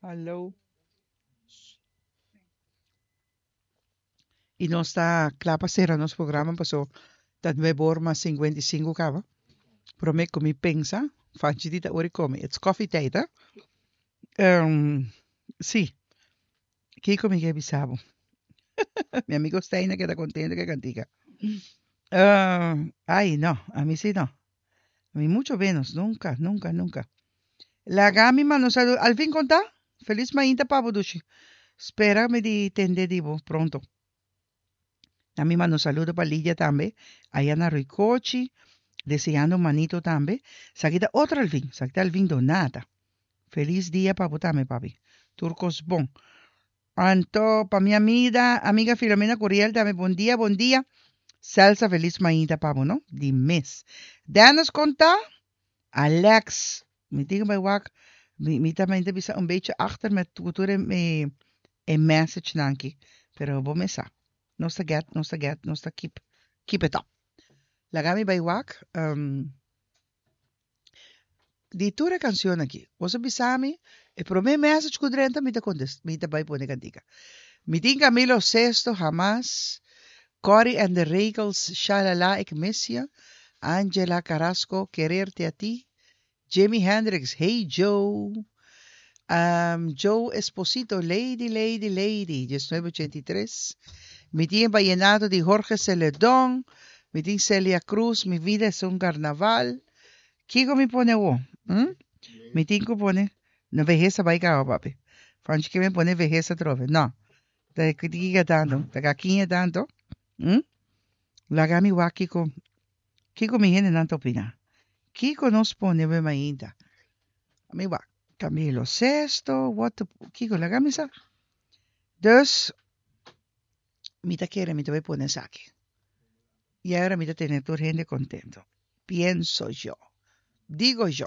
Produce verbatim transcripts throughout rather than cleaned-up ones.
Hallo. I nos ta kla pa sera nos programa paso ta nuebe or mas sinkuenta i sinku kaba. Promé ku mi pensa, Fanchi di ta ora i kome. It's coffee tijd, hè? Um, sí. Kiko mi ke bisa bo? Mi amigo Stijn a keda kontento ku e kantika. Uh, ai, no, ami sí no. Ami mucho menos, nunka, nunka, nunka. Laga mi manda un saludo. Alvin konta? Felis mainta pa bo, dushi. Spera mi di tende di bo pronto. Na mi manda un saludo pa Lidia tambe, aya na Ruicochi, deseando un manito tambe. Esaki ta otro Alvin, esaki ta Alvin Donata. Felis dia pa bo tambe, papi. Tur kos bon. Anto pa mi amida, amiga Filomena Curiel tambe, bon dia, bon dia. Celsa felis mainta pa bo, no? Di mes. Dennis konta? Alex, mi tin bai wak, mi, mi ta ta bisa un beetje achter met ku tur e, e, e message nan aki. Pero bo mes sa. Nos ta get, nos ta get, nos ta keep, keep it up. Laga mi bai wak, um, di tur e canción aki. Boso bisa mi, e prome message ku drenta mi ta contest, mi ta bai pone cantica. Mi tin Camilo Sesto, Jamás, Cory and the Regels, Shalala, ik mis je, Angela Carrasco, Quererte a ti, Jimi Hendrix, Hey Joe, um, Joe Esposito, Lady, Lady, Lady, diesnuebe ochenta i tres. Mi tin Vallenato di Jorge Celedón, mi tin Celia Cruz, Mi vida es un carnaval. Kiko mi pone wo? Hm? Mi tin ku pone, no vejez a bai kaba, papi. Fanchi ke mi pone vejez atrobe. No. Ta kika tanto, ta kakiña tanto. Hm? Laga mi wak kiko, kiko mi hendenan ta opina. Kiko nos pone we mainta? Mi wak. Camilo Sesto, what the, kiko laga mi sa. Dus, mi ta kere mi ta bai pone esaki. I ahora mi ta tene tur hende contento. Pienso yo. Digo yo.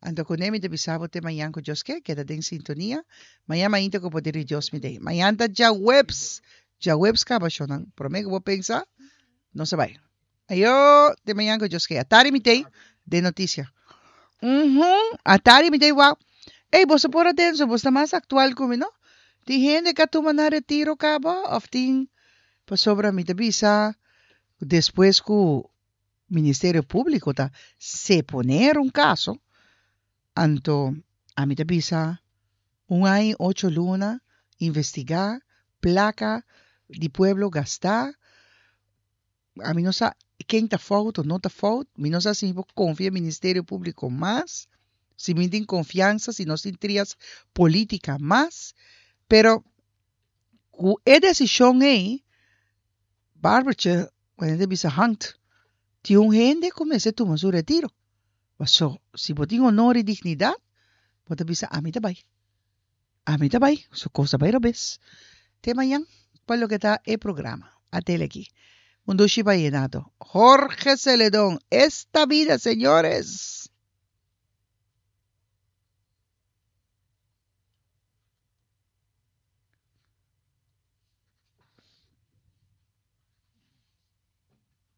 Anto kuné mi ta bisa bo te mañan ku Dios ke, keda den sintonia. Mañan mainta ku poder di Dios mi den. Mañan ta djaweps. Djaweps kaba shownan. Promé ku bo pensa, nos a bai. Ayo, te mañan ku Dios ke. Atari mi tei den notisia. Uhum, atari mi tei wak. Ey, boso por atenso, bo ta mas aktual ku mi, no? Tin hende ku a tuma nan retiro kaba òf tin pasobra mi ta bisa despues ku Ministerio Públiko ta seponer un kaso, anto ami ta bisa un aña i ocho luna investigá, plaka di pueblo gastá, ami no sa ken ta fout o no ta fout, mi no sa si mi por konfia Ministerio Públiko mas, si mi tin konfiansa, si nos tin trias polítika mas, pero ku e desishon ei, Barbertje, wanneer ta bisa hangt, tin un hende ku mester tuma su retiro. Paso, si bo tin honor i dignidat, bo ta bisa ami ta bai. Ami ta bai, su kos ta bai robes. Te mañan pa loke ta e programa. Atele aki. Un dushi vallenato. Jorge Celedón, Esta vida, señores!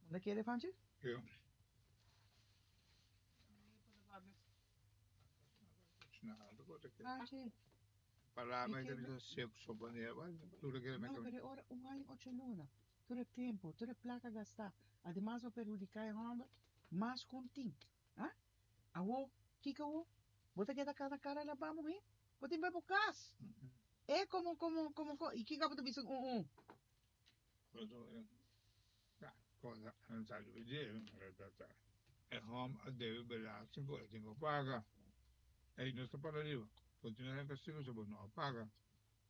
Unda kere, Fanchi? Ja. Fanchi. Palabra de bisa sexo poner, tur kere No, pero ora un aña ocho luna. Tur e tempo, tur e placa gastá. Ademas bo perhudiká e hòmber mas ku un tin. Ah? Awo, kiko awo? Bo ta keda kana kara labá muhé? Bo tin bai bo kas. E komo komo komo ko i kiko abo ta bisa un un? Cosa non sa vedere, e hom a debe belasting ku e tin ku paga. E no sta para riba. Continua en castigo si bo no paga.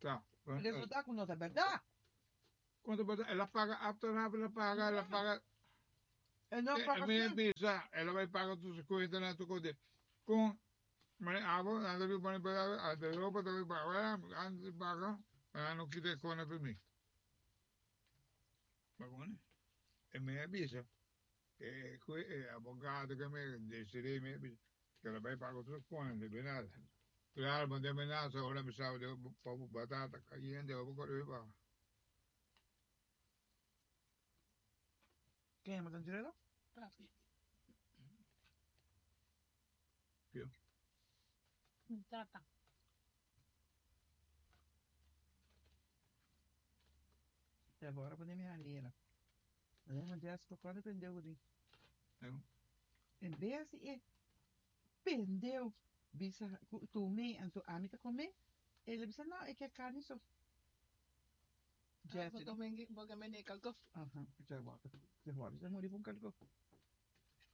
Ta. Resulta ku no ta bèrdat. Cuánto bata? El a paga achteraf, el a paga, el a paga. E no E paga mi sí. bisa, el a bai paga tur su cuenta na tu kode. Con mane abo, anda bi pone para, de ropa ta bi paga, anda paga, ah no kita e kona per mi. Bagone. E mi avisa, e qui e abogado che mi decide mi avisa, che la bai paga tur kona, de nada. Claro, mandé amenaza, ora mi sabe de batata caliente, o corre paga. Ken yama Tanjurelo? Papi. Yo. Mi tata. Agora pone mi halera. Mas Jessica, quando prendeu o No. En bes di e pendeu bisa tumi anto ami ta come, el a bisa no, e ke carni so. Ah, bo come bo come calco. Aha, cioè guarda, se guarda, se muri con calco.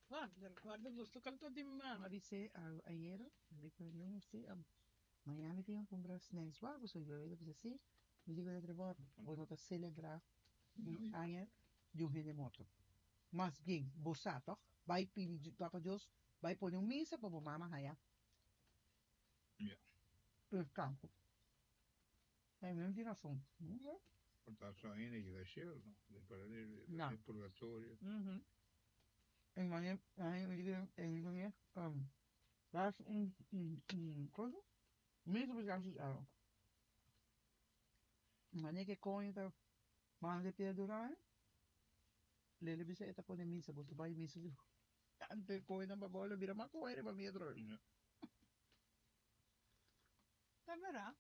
Ah, guarda gusto calco di mama. Ma dice ayer, dico, no sé, mañana mi tin cu cumpra snacks, wa, so yo a bisa si, mi dico de Trevor, bo no ta celebra un aña di un hende morto. Mas bien, bo sa toch? Bai pidi Papa Dios, bai pone un misa pa bo mama haya. Ja. Descanso. E mi tin rason. Porta so ainda que cielo, no? Del paradiso, No. del purgatorio. Mhm. En wanneer, en en um, daar is een, een, een cosa? Misa pa kasi. Wanneer ku koño ta manda pia durar, lele bisa eta pone misa, bo bai misa. Ante koño na babola bira makoere pa mi atro. Ja. Ta bèrdat?